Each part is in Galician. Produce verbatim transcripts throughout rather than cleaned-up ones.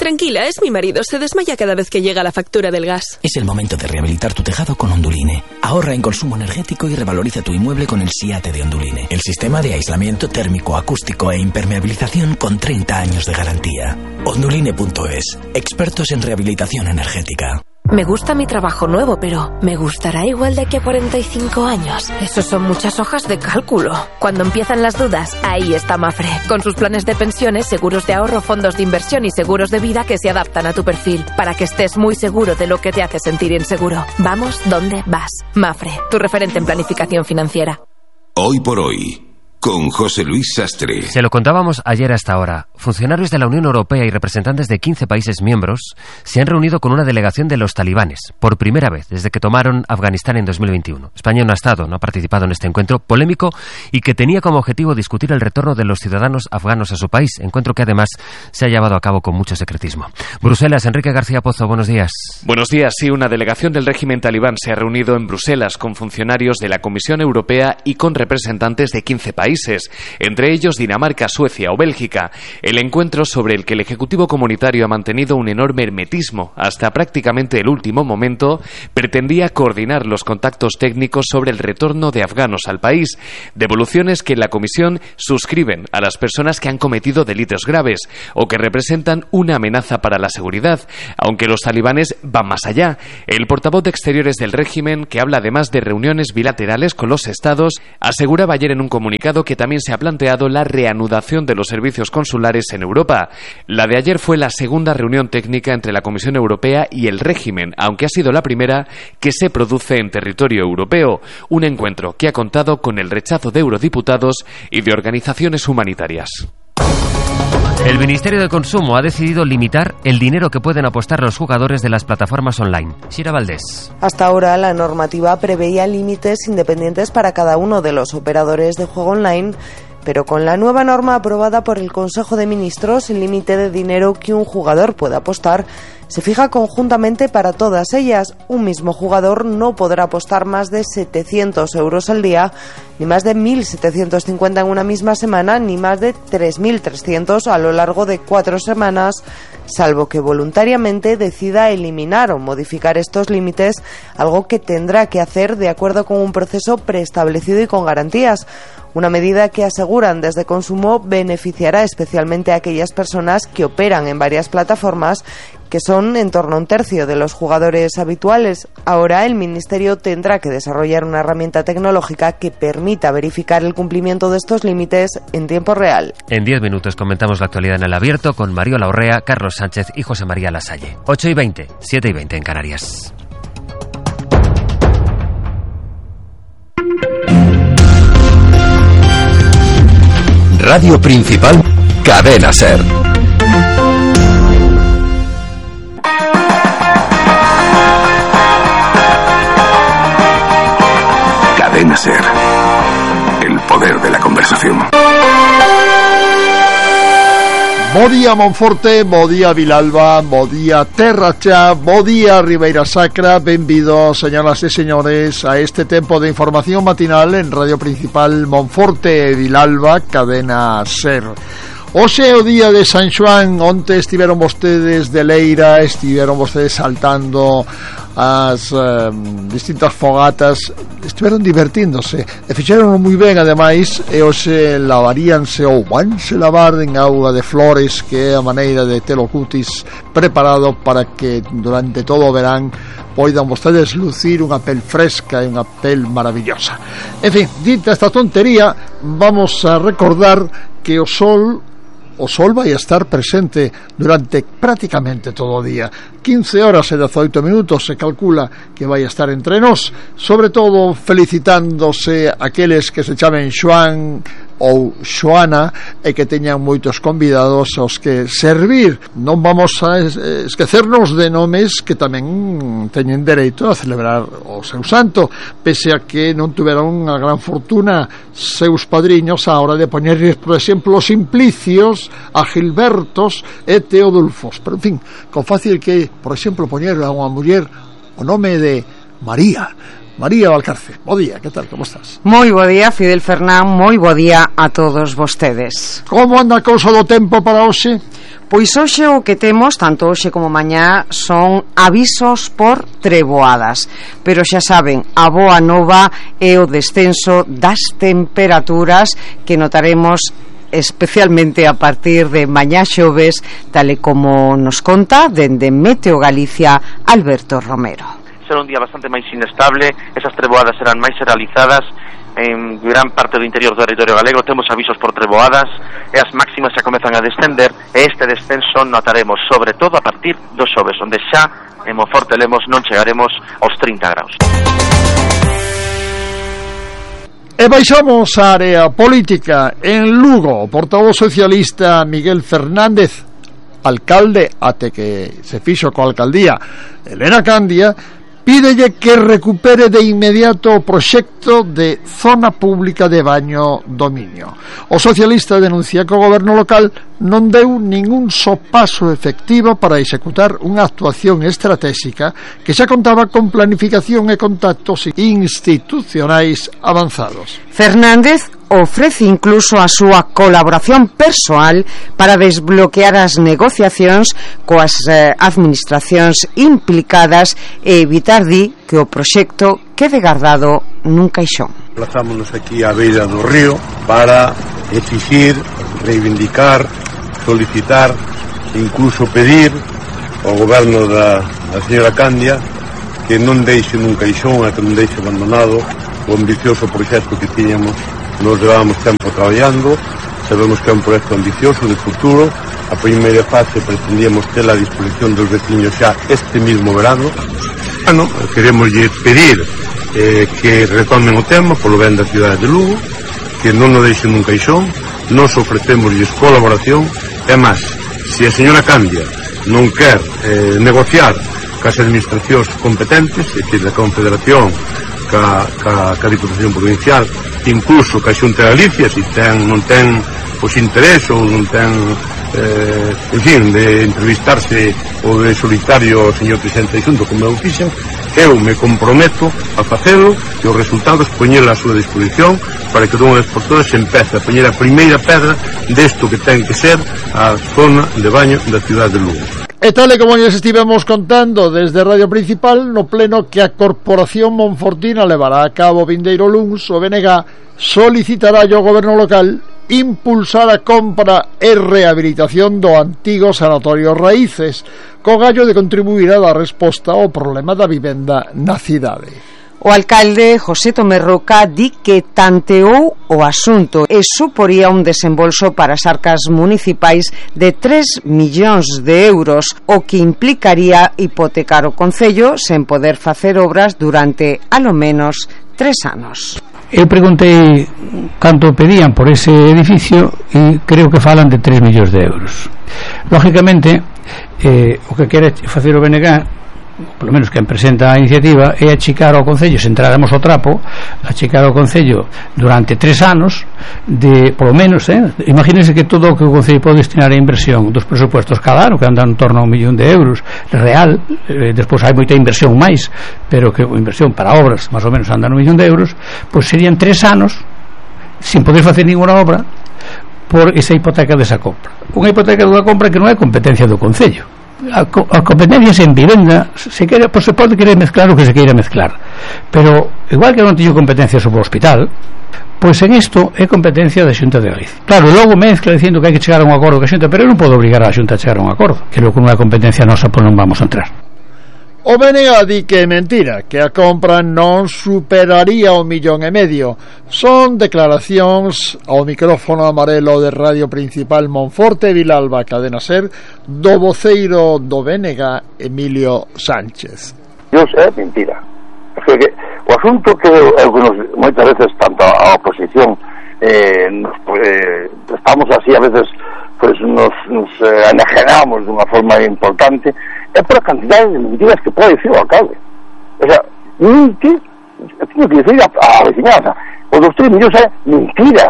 Tranquila, es mi marido. Se desmaya cada vez que llega la factura del gas. Es el momento de rehabilitar tu tejado con Onduline. Ahorra en consumo energético y revaloriza tu inmueble con el SIATE de Onduline. El sistema de aislamiento térmico, acústico e impermeabilización con treinta años de garantía. Onduline punto es. Expertos en rehabilitación energética. Me gusta mi trabajo nuevo, pero ¿me gustará igual de aquí a cuarenta y cinco años? Esos son muchas hojas de cálculo. Cuando empiezan las dudas, ahí está Mafre. Con sus planes de pensiones, seguros de ahorro, fondos de inversión y seguros de vida que se adaptan a tu perfil, para que estés muy seguro de lo que te hace sentir inseguro. Vamos donde vas. Mafre, tu referente en planificación financiera. Hoy por hoy, con José Luis Sastre. Se lo contábamos ayer hasta ahora. Funcionarios de la Unión Europea y representantes de quince países miembros se han reunido con una delegación de los talibanes, por primera vez desde que tomaron Afganistán en dos mil veintiuno. España no ha estado, no ha participado en este encuentro polémico y que tenía como objetivo discutir el retorno de los ciudadanos afganos a su país, encuentro que además se ha llevado a cabo con mucho secretismo. Bruselas, Enrique García Pozo, buenos días. Buenos días, sí, una delegación del régimen talibán se ha reunido en Bruselas con funcionarios de la Comisión Europea y con representantes de quince países. Entre ellos Dinamarca, Suecia o Bélgica. El encuentro, sobre el que el Ejecutivo Comunitario ha mantenido un enorme hermetismo hasta prácticamente el último momento, pretendía coordinar los contactos técnicos sobre el retorno de afganos al país, devoluciones que en la Comisión suscriben a las personas que han cometido delitos graves o que representan una amenaza para la seguridad, aunque los talibanes van más allá. El portavoz de Exteriores del régimen, que habla además de reuniones bilaterales con los estados, aseguraba ayer en un comunicado que también se ha planteado la reanudación de los servicios consulares en Europa. La de ayer fue la segunda reunión técnica entre la Comisión Europea y el régimen, aunque ha sido la primera que se produce en territorio europeo. Un encuentro que ha contado con el rechazo de eurodiputados y de organizaciones humanitarias. El Ministerio de Consumo ha decidido limitar el dinero que pueden apostar los jugadores de las plataformas online. Sira Valdés. Hasta ahora la normativa preveía límites independientes para cada uno de los operadores de juego online, pero con la nueva norma aprobada por el Consejo de Ministros, el límite de dinero que un jugador puede apostar se fija conjuntamente para todas ellas. Un mismo jugador no podrá apostar más de setecientos euros al día, ni más de mil setecientos cincuenta en una misma semana, ni más de tres mil trescientos a lo largo de cuatro semanas, salvo que voluntariamente decida eliminar o modificar estos límites, algo que tendrá que hacer de acuerdo con un proceso preestablecido y con garantías. Una medida que, aseguran desde Consumo, beneficiará especialmente a aquellas personas que operan en varias plataformas, que son en torno a un tercio de los jugadores habituales. Ahora el Ministerio tendrá que desarrollar una herramienta tecnológica que permita verificar el cumplimiento de estos límites en tiempo real. En diez minutos comentamos la actualidad en el abierto con Mariola Orrea, Carlos Sánchez y José María Lasalle. ocho y veinte, siete y veinte en Canarias. Radio Principal, Cadena SER. Cadena SER. El poder de la conversación. Bo día Monforte, bo día Vilalba, bo día Terra Cha, bo día Ribeira Sacra. Benvidos, señoras e señores, a este tempo de información matinal en Radio Principal Monforte e Vilalba, Cadena SER. Hoxe é o día de San Xoán. Onte estiveron vostedes de leira, estiveron vostedes saltando as eh, distintas fogatas, estiveron divertíndose e fixeron moi ben, ademais, e hoxe lavaríanse ou vanse lavar en auga de flores, que é a maneira de ter o cutis preparado para que durante todo o verán poidan vostedes lucir unha pel fresca e unha pel maravillosa. En fin, dita esta tontería, vamos a recordar que o sol O sol vai a estar presente durante prácticamente todo o día. quince horas e dezoito minutos se calcula que vai a estar entre nós, sobre todo felicitándose aqueles que se chamen Xoán ou Xoana e que teñan moitos convidados aos que servir. Non vamos a esquecernos de nomes que tamén teñen dereito a celebrar o seu santo, pese a que non tuveron unha gran fortuna seus padriños a hora de poñerles, por exemplo, Simplicios, a Gilbertos e Teodulfos. Pero, en fin, con fácil que, por exemplo, poñer a unha muller o nome de María. María Valcarce, bo día, que tal, como estás? Moi bo día, Fidel Fernán, moi bo día a todos vostedes. Como anda a cousa do tempo para hoxe? Pois hoxe o que temos, tanto hoxe como mañá, son avisos por treboadas. Pero xa saben, a boa nova é o descenso das temperaturas que notaremos especialmente a partir de mañá xoves, tal e como nos conta dende Meteo Galicia Alberto Romero. Será un día bastante máis inestable, esas treboadas serán máis generalizadas en gran parte do interior do territorio galego. Temos avisos por treboadas e as máximas xa comezan a descender, e este descenso notaremos sobre todo a partir do xoves, onde xa en Monforte Lemos non chegaremos aos trinta graus. E baixamos a área política. En Lugo, o portavoz socialista Miguel Fernández, alcalde até que se fixo coa alcaldía Elena Candia, pídelle que recupere de inmediato o proxecto de zona pública de baño do Miño. O socialista denuncia que o goberno local non deu ningún só paso efectivo para executar unha actuación estratégica que xa contaba con planificación e contactos institucionais avanzados. Fernández ofrece incluso a súa colaboración persoal para desbloquear as negociacións coas eh, administracións implicadas e evitar, di, que o proxecto quede guardado nun caixón. Plazámonos aquí á beira do río para exixir, reivindicar, solicitar, incluso pedir ao goberno da, da señora Candia que non deixe nun caixón e que non deixe abandonado o ambicioso proxecto que tiñamos. Nos levamos tempo traballando, sabemos que é un proxecto ambicioso de futuro. A primeira fase pretendíamos ter a disposición dos veciños xa este mismo verano. Bueno, queremos pedir eh, que retomen o tema polo ben da cidade de Lugo, que non o deixen nun caixón. Nos ofrecemosles colaboración. É máis, se a señora Candia non quer eh, negociar cas administracións competentes, é dicir, da Confederación, ca, ca, ca Diputación Provincial, incluso ca Xunta de Galicia, se ten, non ten os interés ou non ten eh, en fin, de entrevistarse ou de solitario ao señor presidente de Xunta, como eu fixen, eu me comprometo a facelo e os resultados poñela a súa disposición para que dunha vez por todas se empece a poñer a primeira pedra desto que ten que ser a zona de baño da cidade de Lugo. E tal e como lles estivemos contando desde Radio Principal, no pleno que a Corporación Monfortina levará a cabo vindeiro luns, o B N G solicitará ao goberno local impulsar a compra e rehabilitación do antigo Sanatorio Raíces, co gallo de contribuir a dar resposta ao problema da vivenda na cidade. O alcalde José Tomé Roca di que tanteou o asunto e suporía un desembolso para as arcas municipais de tres millóns de euros, o que implicaría hipotecar o concello sen poder facer obras durante alo menos tres anos. Eu preguntei canto pedían por ese edificio e creo que falan de tres millóns de euros. Lógicamente, eh, o que quere facer o B N G, polo menos quen presenta a iniciativa, é achicar ao concello, se entráramos ao trapo, achicar ao concello durante tres anos de, polo menos, eh, imagínense que todo o que o concello pode destinar a inversión dos presupuestos cada ano, que andan en torno a un millón de euros real, eh, despois hai moita inversión máis, pero que a inversión para obras máis ou menos andan un millón de euros, pois serían tres anos sin poder facer ninguna obra por esa hipoteca desa compra. Unha hipoteca dunha compra que non é competencia do concello. A, co a competencias en vivenda se quere, pues se pode querer mezclar o que se queira mezclar, pero igual que non teño competencia sobre o hospital, pois en isto é competencia da Xunta de Galicia. Claro, logo mezcla dicindo que hai que chegar a un acordo con a Xunta, pero eu non podo obrigar a Xunta a chegar a un acordo, que logo con unha competencia nosa pois non vamos a entrar. O B N G di que é mentira, que a compra non superaría o millón e medio. Son declaracións ao micrófono amarelo de Radio Principal Monforte Vilalba Cadena Ser do voceiro do B N G, Emilio Sánchez. Dios, é mentira. O, sea que, o asunto que algunos, moitas veces tanto a oposición eh, nos, eh, estamos así a veces pues nos, nos eh, enajenamos dunha forma importante, é por a cantidad de mentiras que pode dicir o alcalde. O sea, mentir, tengo que decir a, a veciñanza, o dos tres millóns é mentira.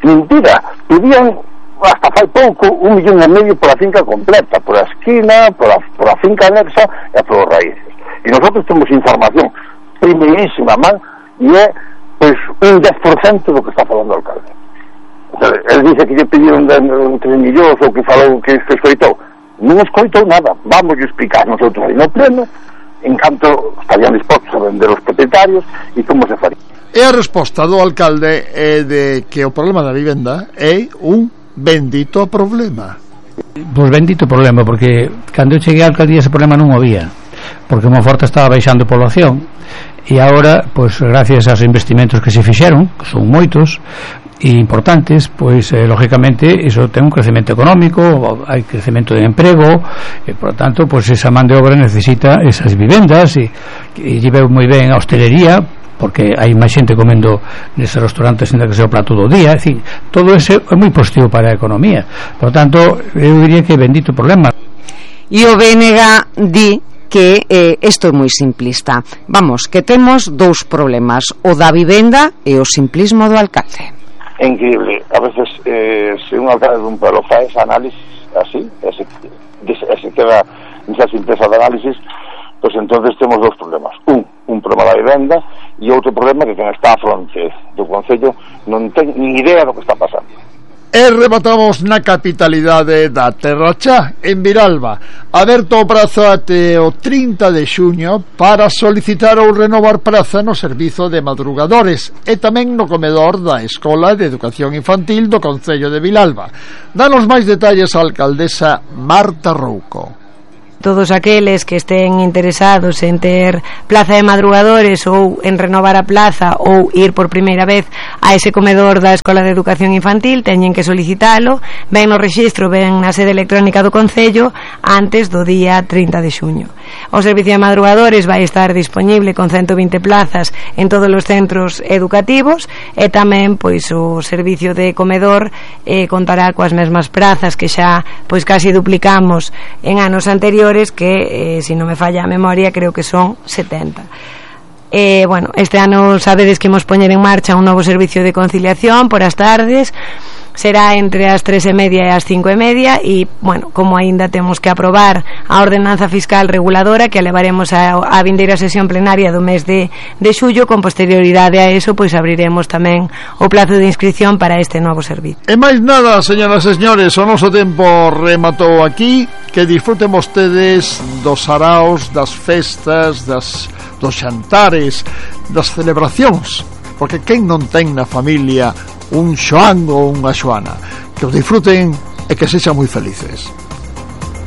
Mentira. Pedían hasta fai pouco un millón e medio por a finca completa, por a esquina, por a, por a finca anexa e por os raíces. E nosotros temos información primeirísima man e é pois un dez por cento do que está falando o alcalde. O El dice que lle pediron tres millóns ou que falou que se escoitou. Non escoitou nada. Vamos a explicar nosotros aí no pleno en canto estarían dispostos a vender os propietarios e como se faría. E a resposta do alcalde é de que o problema da vivenda é un bendito problema. Pois bendito problema, porque cando eu cheguei á alcaldía ese problema non o había, porque Monforte estaba baixando población e agora, pois gracias aos investimentos que se fixeron, que son moitos e importantes, pois eh, lógicamente iso ten un crecemento económico, hai crecemento de emprego e por tanto, pois esa man de obra necesita esas vivendas e, e lle veu moi ben a hostelería, porque hai máis xente comendo neses restaurantes en que se o plato do día, en fin, todo ese é moi positivo para a economía. Por tanto, eu diría que bendito problema. E o B N G di que eh, isto é moi simplista. Vamos, que temos dous problemas, o da vivenda e o simplismo do alcalde. É increíble, a veces eh, se un alcalde dun pueblo faz ese análisis así, ese, ese queda nesa simpleza de análisis, pois pues entonces temos dous problemas, un, un problema da vivenda e outro problema que quen está a fronte do Concello non ten ni idea do que está pasando. E rematamos na capitalidade da Terra Cha, en Vilalba, aberto o prazo até o trinta de xuño para solicitar ou renovar praza no servizo de madrugadores e tamén no comedor da Escola de Educación Infantil do Concello de Vilalba. Danos máis detalles a alcaldesa Marta Rouco. Todos aqueles que estén interesados en ter plaza de madrugadores ou en renovar a plaza ou ir por primeira vez a ese comedor da Escola de Educación Infantil teñen que solicitalo, ven no rexistro, ven na sede electrónica do Concello antes do día trinta de xuño. O servicio de madrugadores vai estar disponible con ciento vinte plazas en todos os centros educativos e tamén pois o servicio de comedor eh, contará coas mesmas prazas que xa pois casi duplicamos en anos anteriores, que eh, si non me falla a memoria creo que son setenta. Eh, bueno, este ano sabedes que imos poñer en marcha un novo servicio de conciliación por as tardes, será entre as tres e media e as cinco e media e, bueno, como aínda temos que aprobar a ordenanza fiscal reguladora que a levaremos a, a vindeira sesión plenaria do mes de, de xullo, con posterioridade a eso pois abriremos tamén o plazo de inscripción para este novo servicio. E máis nada, señoras e señores, o noso tempo rematou aquí. Que disfruten vostedes dos araos, das festas, das, dos xantares, das celebracións, porque quen non ten na familia un Xoán ou unha Xoana. Que os disfruten e que sexan moi felices.